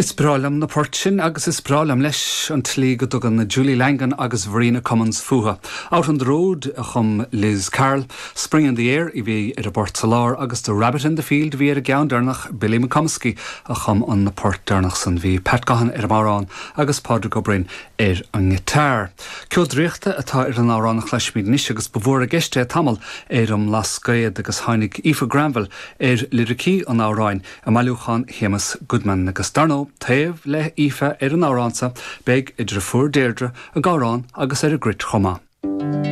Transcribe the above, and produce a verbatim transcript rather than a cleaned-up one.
Is breá liom na poirt sin agus is breá liom leis an tslí go dtugann Julie Langan agus Verena Cummins fúthu. Out on the Road a chum Liz Carroll, Spring in the Air a bhí ar an bport sa lár agus The Rabbit in the Field bhí ar an gceann deireanach Billy McComiskey a chum an port deireanach san bhí Pat Gahan ar an amhrán agus Pádraig Ó Broin ar an ngiotár. Ceol draíochta atá ar an amhrán a chloisfimid anois agus ba mhór i gceist é tamall ar an mBlascaod agus tháinig Aoife Granville ar liricí an amhráin i mbailiúchán Shéamus Goodman agus dar ndóigh taobh le hAoife ar an amhrán seo beidh a deirfiúr Deirdre ag amhrán agus ar an gcruit chomh maith.